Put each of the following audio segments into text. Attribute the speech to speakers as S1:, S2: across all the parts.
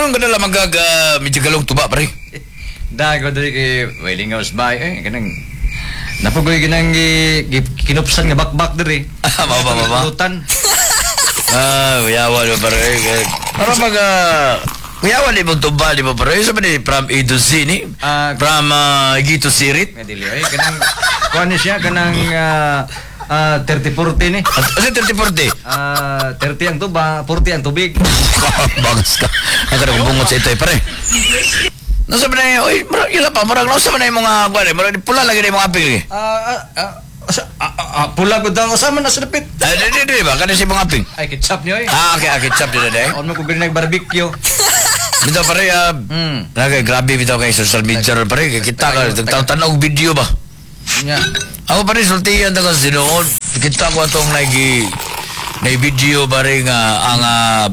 S1: Anong ganala magag medyo galong tuba pare?
S2: Dago diri kay Wailing House bay eh kanang napugoy ginang kinupsan nga bakbak diri.
S1: Ah, mao ba, mao ba?
S2: Lutan.
S1: Ah, kuyawa mo pare. Para mag kuyawa ni mong tuba di mo pare. Sa ni from A to Z ni?
S2: Ah,
S1: From G to Sirit?
S2: Nga dili ay kanang kuan ni siya kanang 30-40 ni.
S1: Asa 30-40?
S2: 30 ang tuba, 40 ang tubig.
S1: Bagas ka. Ang kanang bungot sa ito eh, pare. Nasa ba na yun? Uy, murag yun pa. Murag nasa ba na yung mga kuwan eh? Murag pula lagi na yung mga aping eh.
S2: Pula ko daw sama na sa dapit.
S1: Ah, di, di, di ba? Kani si mga aping.
S2: Ay ketchup niyo eh.
S1: Ah, okay, okay. Chap din na eh.
S2: On mo ko gani nag-barbecue.
S1: Bitaw pare, nagay, grabe bitaw kay social media ron, pare. Kita ka, tanaw video ba?
S2: Nya.
S1: Ako pare, sultiyan ta kasi noon. Kita ko atong nagi na video pare nga ang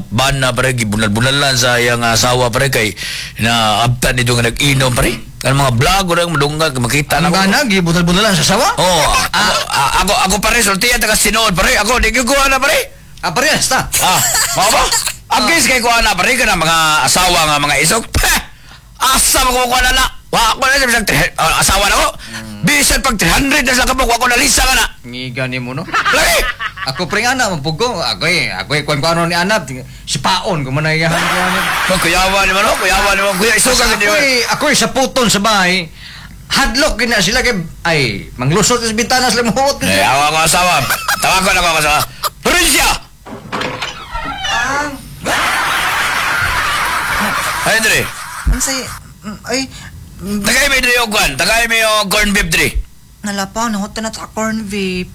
S1: bana pare gibunal-bunalan sa iyang asawa pare kay na abtan nito nga nag-inom pare. Ang mga vlog ora madungag makita na
S2: Ang
S1: ko.
S2: gana gibunal-bunalan sa sawa?
S1: Oh, ako pare sultiyan ta kasi noon pare. Ako di ko na pare.
S2: Ah, parehas ta.
S1: Ah, mao ba? Agis kay ko ana pare kana mga asawa nga mga isog. Peh! Asa mo ko na na. Wa ko na bisag asawa na ko. Bisan pag 300 na sa kabuk wa ko nalisa ka na.
S2: Ngiga nimo no.
S1: Lagi.
S2: Ako pre ana mapugo. Ako eh, ako eh kuan kuano ni anak si paon ko man ay ko ano.
S1: No, kuyawa ni mo no, kuyawa ni mo. Kuya isuga
S2: Ako
S1: gid
S2: eh, ako eh, sa puton sa bahay. Hadlok gina sila kay ay manglusot sa bintana sila muhuot.
S1: Eh, awa ko asawa. Tawagon ako asawa. Florencia! Ay, Dre.
S3: Unsay ay
S1: Tagay may dre og kwan. Tagay may og corn beef dre.
S3: Nalapaw nahutan na ta corn beef.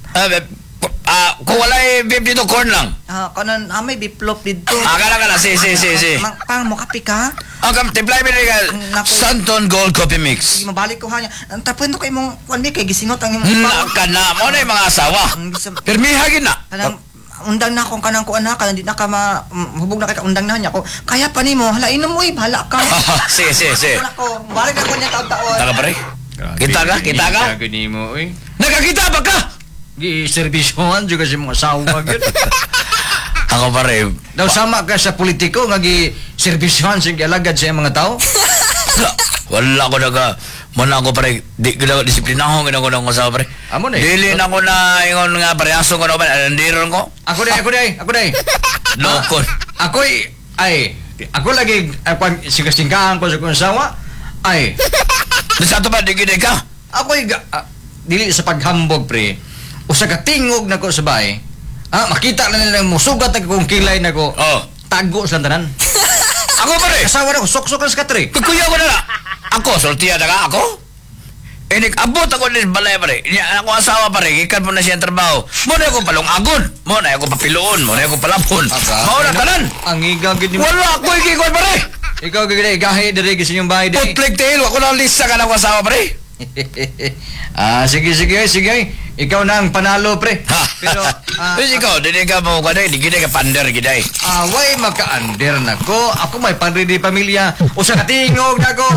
S1: Ah, kung walay beef dito, corn lang.
S3: Ah, kanan may beef loaf dito.
S1: Ah, kana kana si si si si.
S3: Mang, pang mo kape ka?
S1: Ah, kam timpla mi dre ka.
S3: Naku.
S1: Santon Gold Coffee Mix.
S3: Sige, mabalik ko ha niya. Ang tapuin ko kay imong kuan kay gisingot ang imong
S1: Na ka na mo na yung mga asawa.
S3: Ang bisa-
S1: Pirmiha gid na.
S3: Kanang undang na akong kanang kuan ha, kanang di na ka ma hubog na kay ka undang na niya ko. Kaya pa nimo, hala inom mo, bahala ka.
S1: Si si si.
S3: Wala ko, balik ako niya taon-taon.
S1: Taka pare. Kita ka, kita ka.
S2: Gani mo oy.
S1: Nakakita ba ka?
S2: Gi serbisyohan juga si mga asawa gyud.
S1: Ako pare.
S2: Daw sama ka sa politiko nga gi serbisyohan sa gialagad sa iyang mga tao.
S1: Wala ko naga muna ako pare di ko na disiplinahon gid ako ng asawa pare.
S2: Amo na eh.
S1: Dili na ko na ingon nga pare aso ko na ba andiron ko.
S2: Ako day, ako day, ako day.
S1: Lokon.
S2: Ako'y ay ako lagi kuan sigasingkahan ko sa kong asawa. Ay,
S1: Sa ato ba di gid ka?
S2: ako'y dili sa paghambog pre. Usa ka tingog nako sa bahay. Ah, makita na nila musugat na kung kilay nako.
S1: Oh.
S2: Tago silang tanan.
S1: Ako pare.
S2: Asawa na ko, sok-sok na sa katre.
S1: Kuya ko na na. Ako sultiya na ka ako. Inig abot ako ni balay pare. Niya ako asawa pare, gikan mo na siya ang trabaho. Mo na ako palungagon, mo na ako papiloon, mo na ako palapon. Mao na tanan.
S2: Ang iga gid nimo.
S1: Wala ako ikikon pare.
S2: Ikaw gid gahi diri sa inyong bahay diri.
S1: Putlig tail, ako na lista ka na ako asawa pare.
S2: Ah, sige sige sige. Ikaw na ang panalo pre. Pero
S1: Pero ikaw, dili ka mo kanay, di gid ka pander gid ay.
S2: Away maka-under na ko. Ako may padre di pamilya. Usa ka tingog na ko.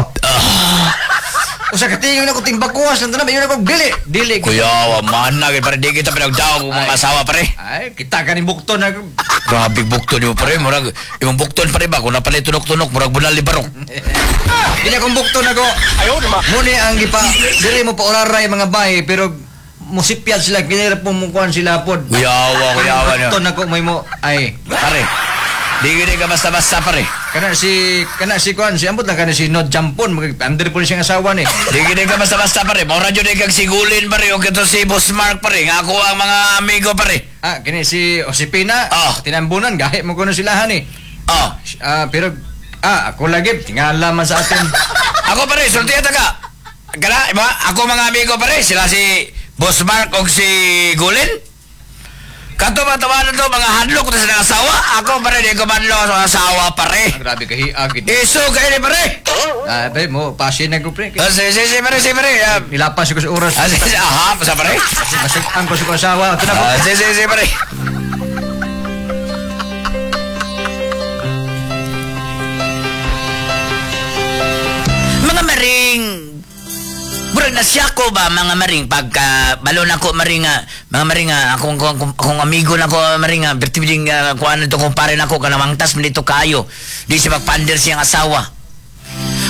S2: Usa ka tingog na ko tingbakuas lang tanan mayon ako dili. Dili.
S1: Kuya, wa man na gid pare di kita pinagdaog og mga asawa pare.
S2: Ay, kita ka ni bukton na ko.
S1: Grabe bukton mo pare, murag imong bukton pare ba kung napalit tunok-tunok murag bunal ni barok.
S2: Dili akong bukton ako. Ayaw naman. Muni ang gipa dili mo pa oraray mga bahay pero musipyad sila kinira po mukuan sila pod.
S1: Kuya, wa kuya wa niyo.
S2: Bukton ako may mo ay
S1: Pare. Di gid ka basta-basta pare.
S2: Kana si kuan si ambot lang kana si Nod Jampon mag under po siyang asawa ni.
S1: Di gid ka basta-basta pare. Mao ra jud kag sigulin pare og kato si Boss Mark pare nga ako ang mga amigo pare.
S2: Ah, kini si Josepina,
S1: Ah.
S2: tinambunan gahi mo kuno silahan ni.
S1: Oh,
S2: Ah, pero ako lagi tingala man sa atin.
S1: Ako pare, sultiya ta ka. Kana, iba, ako mga amigo pare, sila si Boss Mark og si Gulin. Kato ba tawanan to mga hadlok to sa mga asawa? Ako pare, di ko manlo sa asawa pare.
S2: Ah, grabe ka hiag gid.
S1: Iso kayo ni pare.
S2: Ah, pre mo pasin na ko pre.
S1: Ah, si, si, si, pare, si, pare. Ah,
S2: Nilapas ko sa oras.
S1: ah, si, si, aha, sa pare.
S2: Masig-ang ko sa kong asawa. Ito na ko.
S1: Ah, si, si, si, pare. Mga maring, murag nasya ko ba, mga maring, pagka balon ako maring nga, mga maring nga, akong amigo na ko maring nga, bertibiding kuan nito kumpare nako kanang mangtas man dito kayo. Di siya magpander siyang asawa.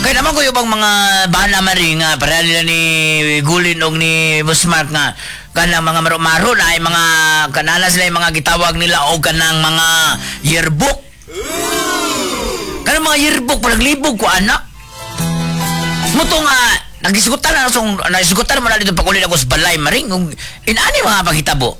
S1: Kaya naman ko yung bang mga bana maring nga, para nila ni Gulin og ni Busmark nga, kanang mga maro-maro na ay mga kanala sila yung mga gitawag nila o kanang mga yearbook. Kanang mga yearbook, panaglibog ko anak. Muto nga, nagisugutan na, so, naisugutan mo na dito pag ako sa balay maring, kung inaani mga paghitabo.